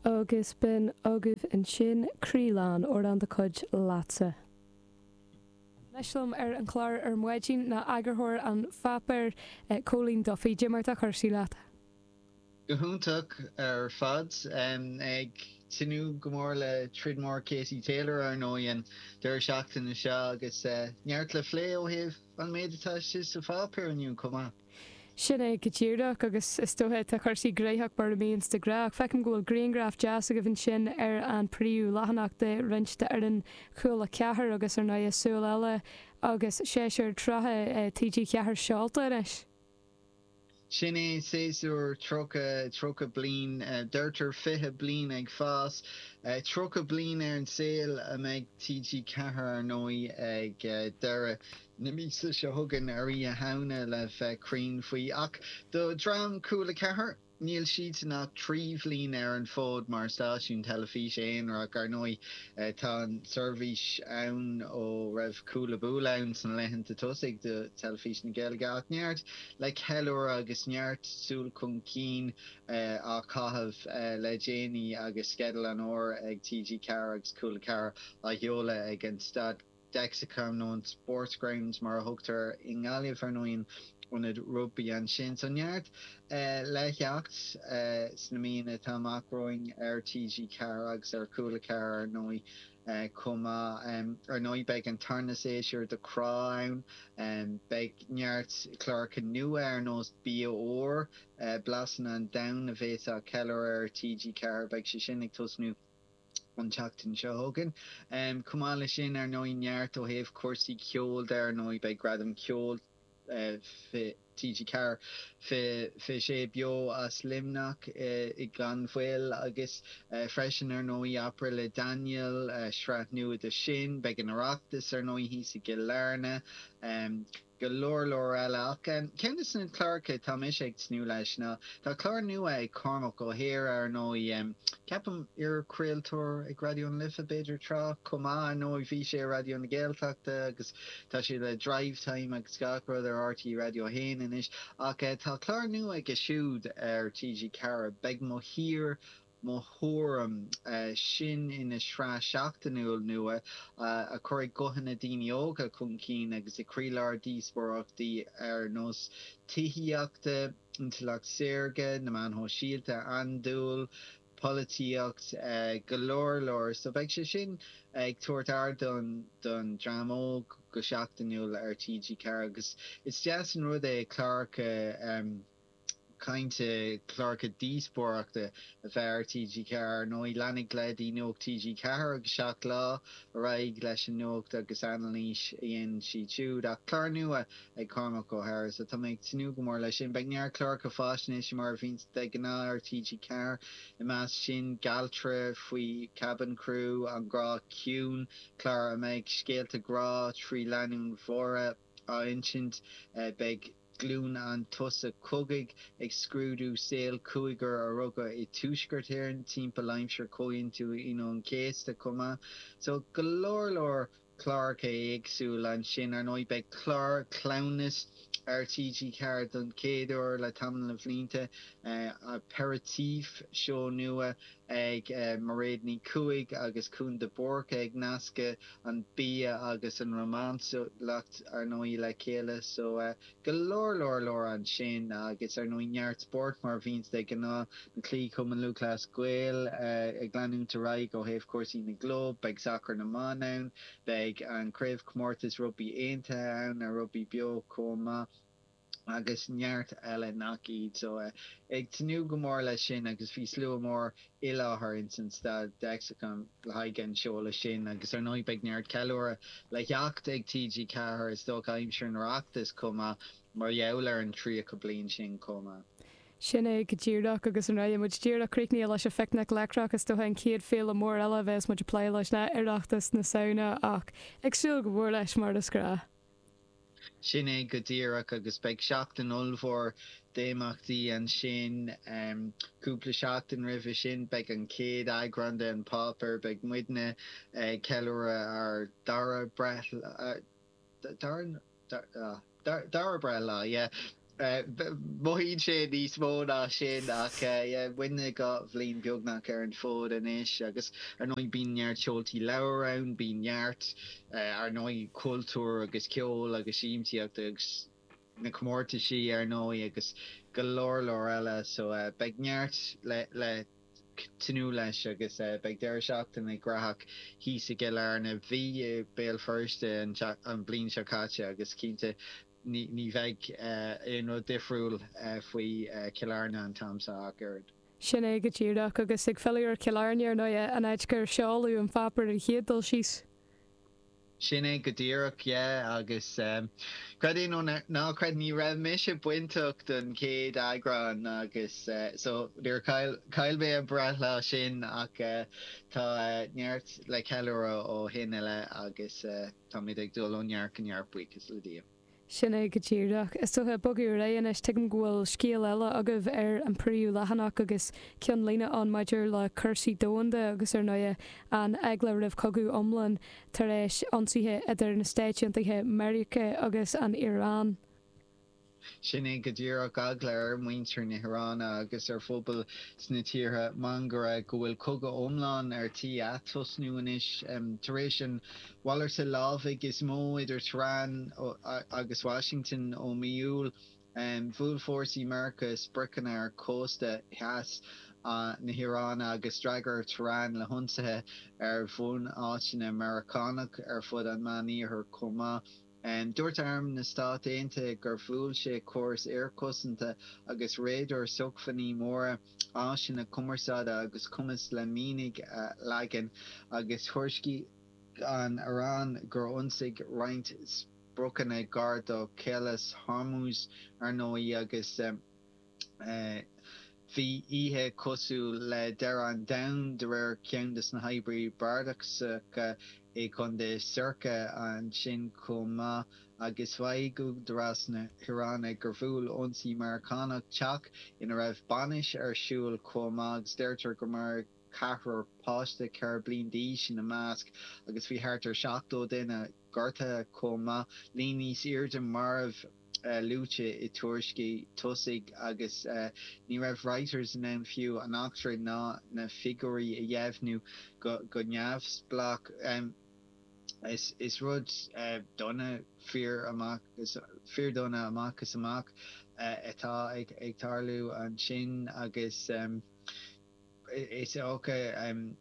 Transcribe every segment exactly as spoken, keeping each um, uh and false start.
Agus b'in agaibh ansin Croí Lán, amhrán de chuid Leatsa. Anois liom ar an chlár ar maidin ná eagarthóir an pháipéir, Cóilín Duffy. Cad é mar atá cúrsaí leat? Go hiontach ar fad. Ag tnúth go mór le troid mór Katie Taylor ar ndóigh an deireadh seachtaine seo agus neart le plé ó thaobh an méid atá istigh sa pháipéar inniu chomh maith. Sin é go díreach agus is dócha tá cúrsaí gnóthach mar a bhíonns de ghnáth ach feicim go bhfuil grianghraf deas agaibh ansin ar an príomh leathanach de roinnt d'fhoireann Chúla Ceathair agus ar ndóigh Súil Eile agus séasúr tríocha T G Ceathair seolta anois. Sin é séasúr tríocha, tríocha bliain, deirtear fiche bliain ag fás, tríocha bliain ar an saol a mbeidh T G Ceathair ar ndóigh ag deireadh na míosa seo chugainn ar Oíche Shamhna le bheith cruinn faoi. Ach do dhream Cúla Ceathair, níl siadsan ach trí bhliain ar an bhfód mar stáisiún teilifíse aonarach. Ar ndóigh, tá an tseirbhís ann ó raibh Cúla Búla ann sna laethanta tosaigh do Teilifís na Gaeilge ach neart le ceiliúradh agus neart súil chun cinn á chaitheamh le déanaí agus sceideal an fhómhair ag T G Ceathair agus Cúla Ceathair á sheoladh ag an staid Dexacom nó an Sports Grounds mar a thugtar i nGaillimh ar ndóigh, an ionad rugbaí ansin. So neart le theacht sna míonna atá amach romhainn ar T G Ceathair agus ar Cúla Ceathair ar ndóigh chomh maith. Ar ndóigh beidh an tarna séasúr de Crá ann, beidh neart cláracha nua ar nós Bia Úr, Blasanna an Domhain a bheas á cheiliúradh ar T G Ceathair, beidh sé sin ag tosnú an tseachtain seo chugainn. Chomh maith leis sin ar ndóigh neart ó thaobh cúrsaí ceoil de ar ndóigh beidh Gradam Ceoil T G Ceathair fiche sé beo as Luimneach i gan mhoill agus freisin ar ndóigh Abair le Daniel, sraith nua de sin, beidh an Oireachtas ar ndóigh thíos i gCill Airne. Go leor leor eile ach ceann de na cláracha atá mise ag tnúth leis ná tá clár nua ag Cormac Ó hEadhra ar ndóigh, ceapaim iar-chraoltóir ag Raidió na Life b'fhéidir tráth chomh maith. Ar ndóigh bhí sé ar Raidió na Gaeltachta agus tá sé le Drivetime agus gach rud ar R T É Raidió a haon anois ach tá clár nua aige siúd ar T G Ceathair, Beidh Mo Thír Mo Thuairim, sin ina sraith seachtainiúil nua a chuirfidh guthanna daoine óga chun cinn agus i gcroílár díospóireachtaí ar nós tithíochta, intleacht saorga, na meáin shóisialta, andúil, polaitíocht, go leor leor. So beidh sé sin ag tabhairt ardán don dream óg go seachtainiúil ar T G Ceathair agus is deas an rud é cláracha cainte, cláracha díospóireachta a bheith ar T G Ceathair. Ar ndóigh leanfaidh leaids Nuacht T G Ceathair agus Seacht Lá ar aghaidh leis an nuacht agus anailís a dhéanann siad siúd ach clár nua ag Cormac Ó hEadhra so tá mé ag tnúth go mór leis sin. Beidh neart cláracha faisnéise mar a bhíonn de ghnáth ar T G Ceathair i measc sin Gealtra faoi cabin crew, An Grá Ciúin, clár a mbeidh scéalta grá trí lánúin mhóra á insint, beidh Glúin an tSosa Cogaidh ag scrúdú saol cúigear a rugadh i dTuaisceart Éireann timpeall aimsir Chomhaontú Aoine an Chéasta chomh maith. So go leor leor cláracha éagsúla ansin. Ar ndóigh beidh clár cleamhnais ar T G Ceathair don chéad uair le tamall na bhlianta, Aperitif, seó nua ag Mairéad Ní Chuaig agus Cún de Búrca ag nascadh an bia agus an rómánsúlacht ar ndóigh le chéile. So go leor leor leor ansin agus ar ndóigh neart spóirt mar a bhíonns de ghnáth, na cluichí Cumann Lúthchleas Gael ag leanúint ar aghaidh ó thaobh cúrsaí na gclub, beidh sacar na mban ann, beidh an craobhchomórtas rugbaí aontaithe ann ar Rugbaí Beo chomh maith agus neart eile nach iad. So ag tnúth go mór leis sin agus bhí slua mór i láthair ins an staid Dexacom le haghaidh an seoladh sin agus ar ndóigh beidh neart ceiliúradh le theacht ag T G Ceathair is dócha aimsir an Oireachtais chomh maith mar gheall ar an tríocha bliain sin chomh maith. Sin é go díreach agus an raibh muid díreach críochnaithe leis an Phicnic Leictreach is dócha an chéad féile mór eile a bheas muid ag plé leis ná Oireachtas na Samhna ach ag súil go mór leis mar is gnách. Sin é go díreach agus beidh seachtain ollmhór d'imeachtaí ansin cúpla seachtain roimhe sin beidh an chéad eagrán de An Páipéar, beidh muidne ag ceiliúradh ár dara breithlá dara dara breithlá yeah. Mothaíonn sé níos mó ná sin ach muidne dhá bhliain beagnach ar an bhfód anois agus ar ndóigh bíonn neart seoltaí leabhar ann, bíonn neart ar ndóigh cultúr agus ceol agus siamsaíocht agus na comórtaisí ar ndóigh agus go leor leor eile so beidh neart le le tnúth leis agus beidh deireadh seachtaine graitheach thíos i gCill Airne. Bhí i Béal Feirste an bhliain seo caite agus cinnte ní ní bheidh aon rud difriúil faoi Chill Airne an t-am seo ach oiread. Sin é go díreach agus ag filleadh ar Chill Airne ar ndóigh an áit gur seoladh an páipéar an chéad dul síos. Sin é go díreach, yeah, agus creid é nó ná creid ní raibh mise bainteach don chéad eagrán agus so níor chaill chaill mé an breithlá sin ach tá neart le ceiliúradh ó shin i leith agus táimid ag dul ó neart go neart buíochas le Dia. Sin é go díreach. Is dócha bogadh ar aghaidh anois, tuigim go bhfuil scéal eile agaibh ar an príomhleathanach agus ceannlíne ann maidir le cúrsaí domhanda agus ar ndóigh an eagla roimh chogadh iomlán tar éis ionsaithe idir na Stáit Aontaithe Meiriceá agus an Iaráin. Sin é go díreach eagla ar mhuintir na hIaráine agus ar phobail sna tíortha mangara go bhfuil cogadh iomlán ar tí atosnú anois tar éis an mhalartú lámhaigh is mó idir Tehran agus Washington ó mí Iúil. Bhuail fórsaí Meiriceá spriocanna ar chósta theas na hIaráine agus d'fhreagair Tehran le hionsaithe ar bhunáiteanna Meiriceánach ar fud an Mheánoirthir chomh maith. Dúirt Arm na Stát Aontaithe gur bhuail sé córas aerchosanta agus radar sócmhainní móra, áiseanna cumarsáide agus cumas le mianaigh a leagan, agus thuairiscigh an Iaráin gur ionsaigh roinnt spriocanna gar do Chaolas Hormuz ar ndóigh agus bhí oíche cosúil le deireadh an domhain de réir ceann de na hoibrithe bardasacha i gContae Sirka ansin chomh maith agus mhaígh údaráis na hIaráine gur bhuail ionsaí Meiriceánach teach ina raibh bainis ar siúl chomh maith agus deirtear gur maraíodh ceathrar páiste ceithre bliana d'aois ina measc agus bhí thart ar seachtó duine gortaithe chomh maith, líon níos airde marbh luaite i dtuairiscí tosaigh agus ní raibh Reuters in ann fiú an eachtra ná na figiúirí a dheimhniú go neamhspleách. Is rud dona, fíor amach fíordhona amach is amach atá ag tarlú ansin agus is dócha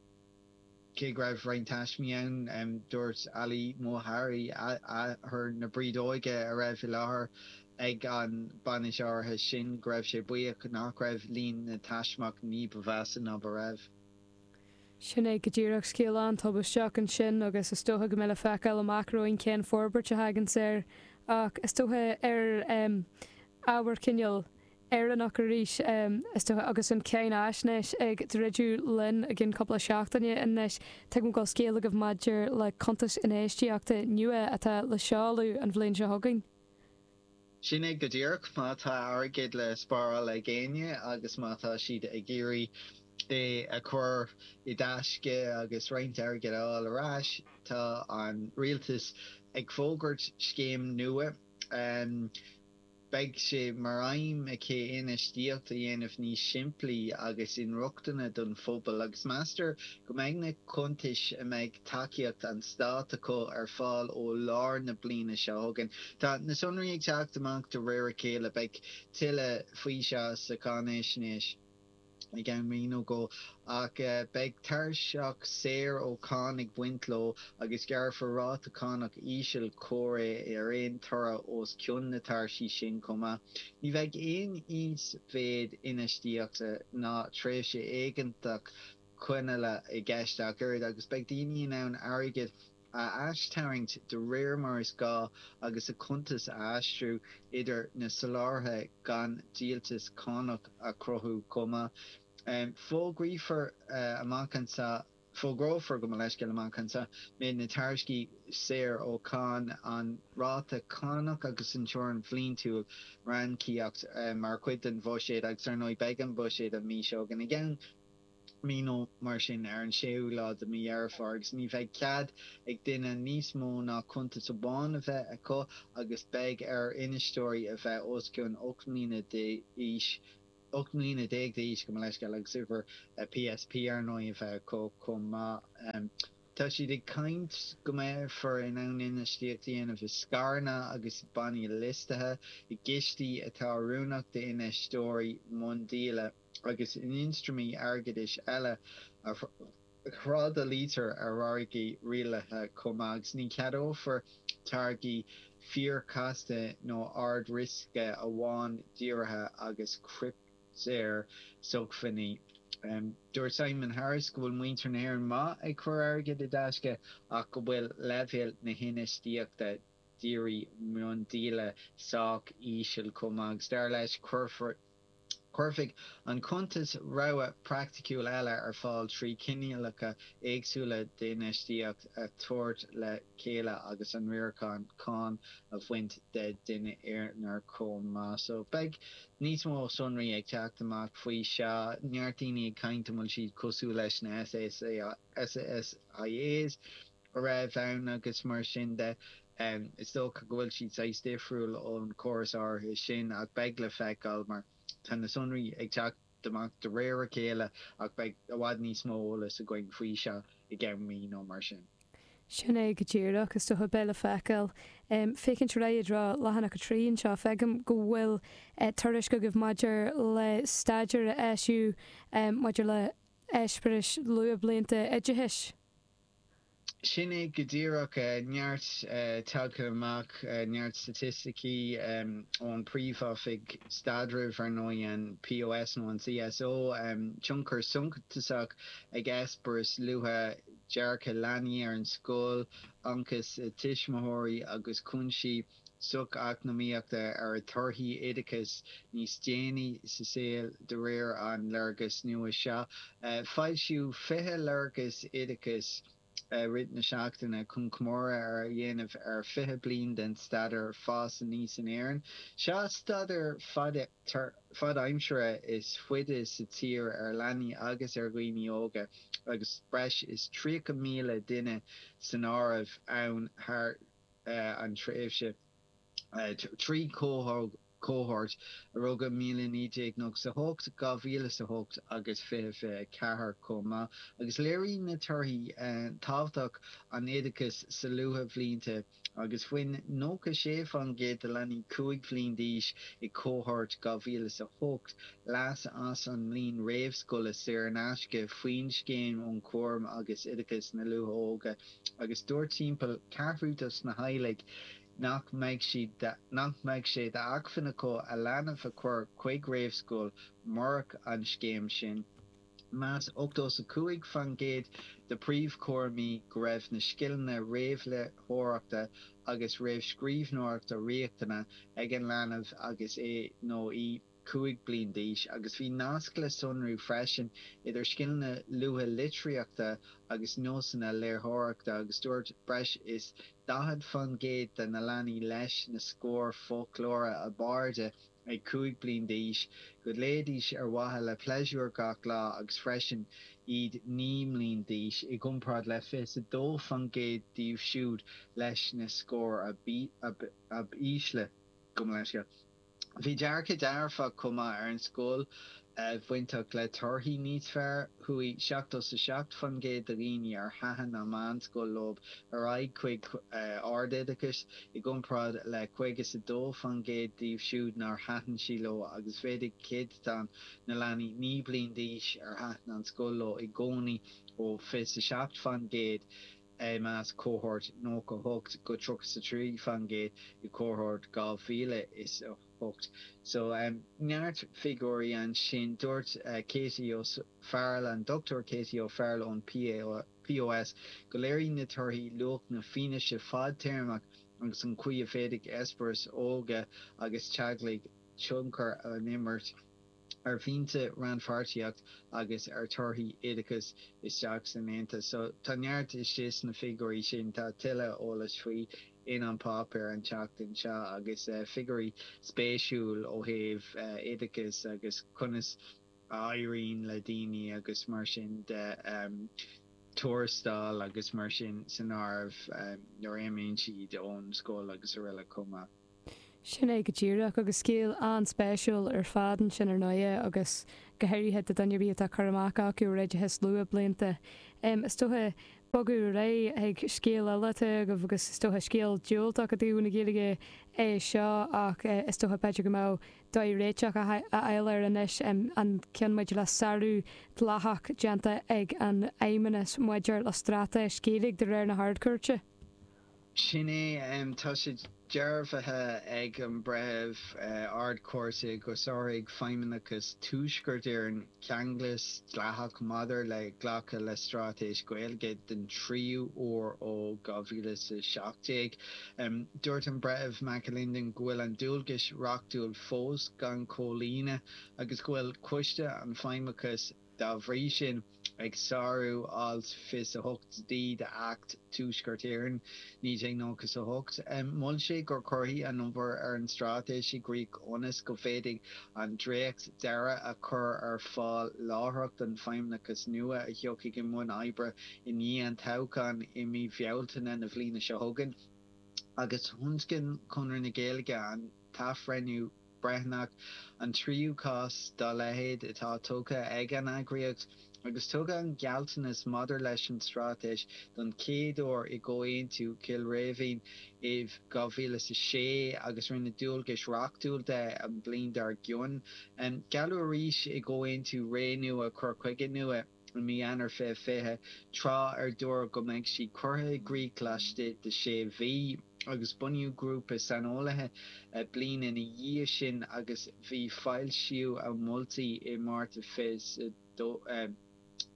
cé go raibh roinnt taismí ann, dúirt Ali Motahari, athair na brídeoige a raibh i láthair ag an bainis áirithe sin, go raibh sé buíoch nach raibh líon na dtaismeach ní ba mheasa ná ba raibh. Sin é go díreach scéal an-tubaisteach ansin agus is dócha go mbeidh le feiceáil amach romhainn cén forbairt a thaganns air ach is dócha ar ábhar cineál Éireannach arís, is dócha, agus an cháinaisnéis ag druidim linn i gcionn cúpla seachtaine anois. Tuigim go bhfuil scéal agaibh maidir le cuntas infheistíochta nua atá le seoladh an bhliain seo chugainn. Sin é go díreach, má tá airgead le spáráil ag éinne agus má tá siad ag iarraidh é a chur i dtaisce agus roinnt airgid a fháil ar ais, tá an rialtas ag fógairt scéim nua. Beidh sé mar aidhm aici infheistíocht a dhéanamh níos simplí agus inrochtana don phobal agus meastar go mbeidh na cuntais a mbeidh tacaíocht an stáit acu ar fáil ó lár na bliana seo chugainn. Tá na sonraí ag teacht amach de réir a chéile, beidh tuilleadh faoi seo sa cháinaisnéis. i gceann mí nó dhó, ach beidh tairseach saor ó cháin ag baint leo agus gearrfar ráta cánach íseal comhréidh ar aon toradh os cionn na tairsí sin chomh maith. Ní bheidh aon íosmhéid infheistíochta ná tréimhse éigeantach coinneála i gceist ach oiread agus beidh daoine in ann airgead a aistarraingt de réir mar is gá agus a cuntas a aistriú idir na soláthraithe gan díoltas cánach a chruthú chomh maith. Fógraífear amach anseo Fógrófar, gabh mo leithscéal, amach anseo méid na tairsí saor ó cháin, an ráta cánach agus an teorainn bhliantúil ranníocaíochta mar chuid den bhuiséad agus ar ndóigh beidh an buiséad an mhí seo chugainn. I gceann mí nó mar sin ar an séú lá de mí Dheireadh Fómhair agus ní bheidh cead ag duine níos mó ná cuntas amháin a bheith acu agus beidh ar infheisteoirí a bheith os cionn ocht mbliana d'aois ocht mbliana déag d'aois gabh mo leithscéal agus uimhir PSP ar ndóigh a bheith acu chomh maith. Tá siad ag caint go mbeifear in ann infheistíocht a dhéanamh i scaireanna agus bannaí liostaithe, i gcistí atá oiriúnach d'infheisteoirí miondíola agus in ionstraimí airgeadais eile a thrádáiltear ar mhargaí rialaithe chomh maith agus ní cheadófar táirgí fíorchasta nó ard-riosca amháin díorthaigh agus cripteashócmhainní. Dúirt Simon Harris go bhfuil muintir na hÉireann maith ag cur airgid i dtaisce ach go bhfuil leibhéal na hinfheistíochta dírí miondíola sách íseal chomh maith agus dar leis cuirfear Cuirfidh an cuntas rogha praiticiúil eile ar fáil trí chineálacha éagsúla d'infheistíocht a thabhairt le chéile agus an riarachán cáin a bhaint de dhuine aonair chomh maith. So beidh níos mó sonraí ag teacht amach faoi seo. Neart daoine ag caint an bhfuil siad cosúil leis na SSIAs a raibh ann agus mar sin de. Is dócha go bhfuil siad saghas difriúil ón chóras áirithe sin ach beidh le feiceáil mar tá na sonraí ag teacht amach de réir a chéile ach beidh i bhfad níos mó eolais againn faoi seo i gceann mí nó mar sin. Sin é go díreach, is dócha, beidh le feiceáil. Féachaint ar aghaidh i dtreo leathanach a trí anseo, feicim go bhfuil tuairisc agaibh maidir le staidéar a eisíodh maidir le heispéiris luathbhlianta oideachais. Sin é go díreach. Neart tagtha amach, neart staitisticí ón Príomh-Oifig Staidrimh, ar ndóigh, an POS nó an CSO, tionchar suntasach ag eispéireas luath dearcadh leanaí ar an scoil, ionchais a dtuismitheoirí agus cúinsí socheacnamaíochta ar a dtorthaí oideachais níos déanaí sa saol de réir an léargas nua seo. Foilsíodh fiche léargas oideachais i rith na seachtaine chun comóradh a dhéanamh ar fiche bliain den staidéar Fás Aníos in Éirinn. Seo staidéar fadaimseartha is faide sa tír ar leanaí agus ar dhaoine óga agus breis is tríocha míle duine san áireamh ann thar an tréimhse trí chohórt, a rugadh míle naoi déag nócha a hocht, dhá mhíle is a hocht agus fiche fiche a ceathair chomh maith, agus léiríonn na torthaí tábhacht an oideachais sa luathbhlianta agus bhain nócha sé faoin gcéad de leanaí cúig bhliain d'aois i cohórt dhá mhíle is a hocht leas as an mbliain réamhscoile saor in aisce faoin Scéim um Chúram agus Oideachas na Luath-Óige agus dúirt timpeall ceathrú dos na teaghlaigh nach mbeadh siad nach mbeadh sé d'acmhainn acu a leanbh a chur chuig réamhscoil murach an scéim sin. Mheas ochtó is a cúig faoin gcéad de phríomhchúraimí go raibh na scileanna réamhléitheoireachta agus réamhscríbhneoireachta riachtanach ag an leanbh agus é nó í cúig bliain d'aois agus bhí nasc le sonrú freisin idir scileanna luatha litríochta agus nósanna léitheoireachta agus dúirt breis is daichead faoin gcéad de na leanaí leis na scóir foclóra ab airde ag cúig bliain d'aois go léidís ar mhaithe le pléisiúr gach lá agus freisin iad naoi mbliain d'aois, i gcomparáid le fiche is a dó faoin gcéad díobh siúd leis na scóir ab ísle. Gabh mo leithscéal. Bhí dearcadh dearfach chomh maith ar an scoil bainteach le torthaí níos fearr. Chuaigh seachtó is a seacht faoin gcéad de dhaoine ar thaitin an mheánscoil leo ar aghaidh chuig ardoideachas, i gcomparáid le caoga is a dó faoin gcéad díobh siúd nár thaitin sí leo agus mhéadaigh céatadán na leanaí naoi bliain d'aois ar thaitin an scoil leo i gcónaí ó fiche is a seacht faoin gcéad i measc cohórt nócha a hocht go tríocha is a trí faoin gcéad i cohórt dhá mhíle is a hocht. So neart figiúirí ansin. Dúirt Katie O'Farrell, an Dochtúir Katie O'Farrell ón POS go léiríonn na torthaí luach na fianaise fadtéarmach agus an chaoi a bhféadfaidh eispéiris óga agus teaghlaigh tionchar a imirt ar mhianta, rannpháirtíocht agus ar thorthaí oideachais isteach san Aontas. So tá neart istigh sna figiúirí sin, tá tuilleadh eolais faoi in An Páipéar an tseachtain seo agus figiúirí spéisiúil ó thaobh oideachais agus conas a éiríonn le daoine agus mar sin de, tuarastal agus mar sin san áireamh nuair a imíonn siad ón scoil agus araile chomh maith. Sin é go díreach, agus scéal an-spéisiúil ar fad ansin ar ndóighe agus go háirithe do dhuine ar bith atá cur amach acu ar oideachas luathbhlianta. Is dócha bogadh ar aghaidh chuig scéal eile atá agaibh agus is dócha scéal diúltach i dtaobh na Gaeilge é seo ach is dócha b'fhéidir go mbeadh dóigh réiteach a fháil air anois, an ceann maidir le sárú dleathach déanta ag an Fheidhmeannas maidir le straitéis Gaeilge de réir na hArd-Chúirte. Sin é. Tá sé dearbhaithe ag an breitheamh Ard-Chúirte gur sháraigh Feidhmeannas Tuaisceart Éireann ceanglas dleathach maidir le glacadh le straitéis Ghaeilge den tríú huair ó dhá mhíle is a seacht déag. Dúirt an Breitheamh McAlinden go bhfuil an dualgas reachtúil fós gan comhlíonadh agus go bhfuil Coiste an Feidhmeannais dá bhrí sin, ag sárú Alt fiche a hocht D d'Acht Tuaisceart Éireann, naoi déag nócha a hocht. Mhol sé gur cuireadh an obair ar an straitéis i gcrích ionas go bhféadfaí an dréacht deiridh a chur ar fáil láithreach don Feidhmeannas nua a thiocfaidh i mbun oibre i ndiaidh an toghcháin i mí Bhealtaine na bliana seo chugainn. Agus thionscain Conradh na Gaeilge an t-athbhreithniú breithiúnach, an tríú cás dá leithéid atá tugtha ag an eagraíocht, agus tugadh an gealltanas maidir leis an straitéis don chéad uair i gComhaontú Chill Rímhinn i dhá mhíle is a sé agus rinneadh dualgas reachtúil de an bhliain dár gcionn. Gealladh arís i gComhaontú Ré Nua Cur Chuige Nua i mí Eanáir fiche fiche, tráth ar dúradh go mbeadh sí curtha i gcrích laistigh de sé mhí, agus bunaíodh grúpa saineolaithe bliain ina dhiaidh sin agus bhí foilsíodh a moltaí i Márta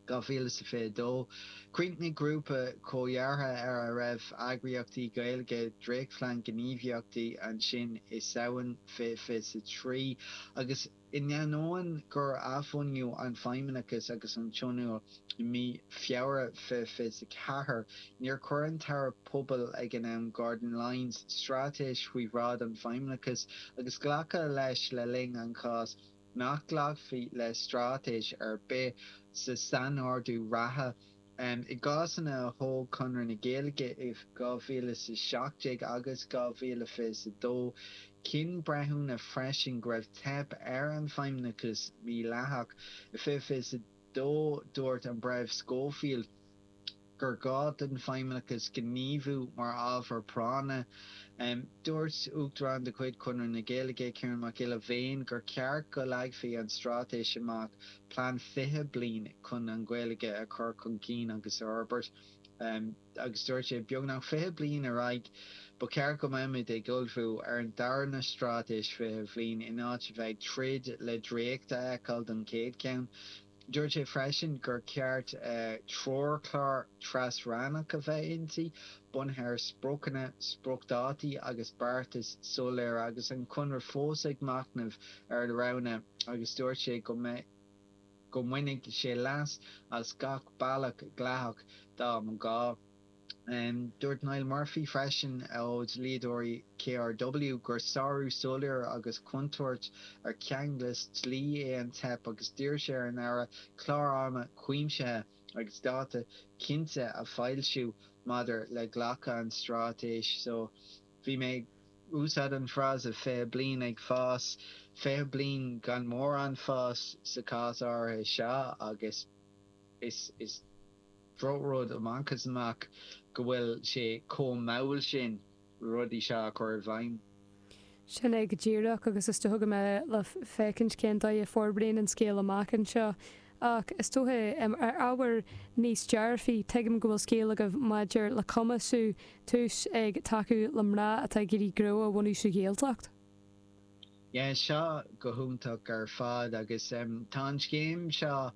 dhá mhíle is fiche dó. Chríochnaigh grúpa comhdheartha ar a raibh eagraíochtaí Gaeilge dréachtphlean gníomhaíochta ansin i Samhain fiche fiche a trí agus In ainneoin gur athbhunaíodh an Feidhmeannas agus an Tionól i mí Feabhra fiche fiche a ceathair, níor chuir an tAire Pobal ag an am, Gordon Lyons, straitéis faoi bhráid an Feidhmeannais agus glacadh leis le linn an chás nach nglacfaí le straitéis ar bith sa sainordú reatha. I gcásanna a thóg Conradh na Gaeilge i dhá mhíle is a seacht déag agus dhá mhíle fiche a dó, chinn breithiúna freisin go raibh teip ar an Feidhmeannas mídhleathach. I fiche fiche a dó, dúirt an Breitheamh Scoffield gur ghá don Feidhmeannas gníomhú mar ábhar práinne. Dúirt Uachtarán de chuid Chonradh na Gaeilge, Ciarán Mac Giolla Bhéin, gur cheart go leagfaí an straitéis amach plean fiche bliain chun an Ghaeilge a chur chun cinn agus a fhorbairt agus dúirt sé, beagnach fiche bliain ar aghaidh, ba cheart go mbeimid ag ullmhú ar an darna straitéis fiche bhliain in áit a bheith ag troid le dréacht a fheiceáil don chéad cheann. Dúirt sé freisin gur cheart treochlár tras-rannach a bheith inti, bunaithe ar spriocanna, spriocdhátaí agus beartais soiléire agus an Conradh fós ag machnamh ar a roghanna agus dúirt sé go go mbainfeadh sé leas as gach bealach dleathach dá mba ghá. Dúirt Niall Murphy freisin ó dhlíodóirí K R W gur sárú soiléir agus contúirt ar cheanglais dlí é an teip agus d'iarr sé ar an Aire clár ama cuimsithe agus dáta cinnte a fhoilsiú maidir le glacadh an straitéis. So bhí mé ag úsáid an frása fiche bliain ag fás, fiche bliain gan mórán fás sa chás áirithe seo agus is is drochrud amach is amach go bhfuil sé chomh mall sin rudaí seo a chur i bhfeidhm. Sin é go díreach agus is dócha go mbeidh le féachaint cén dóigh a forbraíonn an scéal amach anseo. Ach is dócha, ar ábhar níos dearfaí, tuigim go bhfuil scéal agaibh maidir le cumasú Tús ag tacú le mná atá ag iarraidh gnó a bhunú sa Ghaeltacht. Yeah, seo go hiontach ar fad agus tá an scéim seo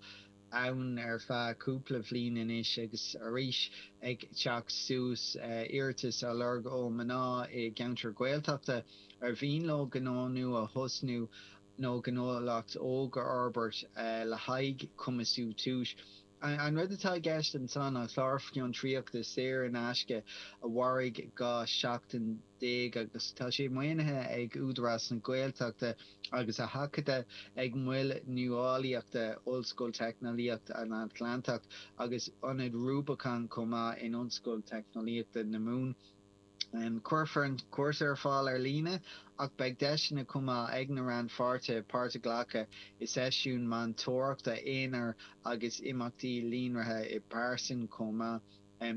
ann ar feadh cúpla bhliain anois agus arís ag teacht suas, iarratais á lorg ó mná i gceantar Gaeltachta ar mhian leo gnó nua a thosnú nó gnólacht óg a fhorbairt le haghaidh cumasú Tús. An rud atá i gceist ansan ná clár fiontraíochta saor in aisce a mhairfidh dhá seachtain déag agus tá sé maoinithe ag Údarás na Gaeltachta agus á sheachadadh ag Moil Nuálaíochta Ollscoil Teicneolaíochta an Atlantach agus Ionad Rubicon chomh maith in Ollscoil Teicneolaíochta na Mumhan. Cuirfear an cúrsa ar fáil ar líne ach beidh deiseanna chomh maith ag na rannpháirtithe páirt a ghlacadh i seisiúin meantóireachta aonair agus imeachtaí líonraithe i bpearsan chomh maith.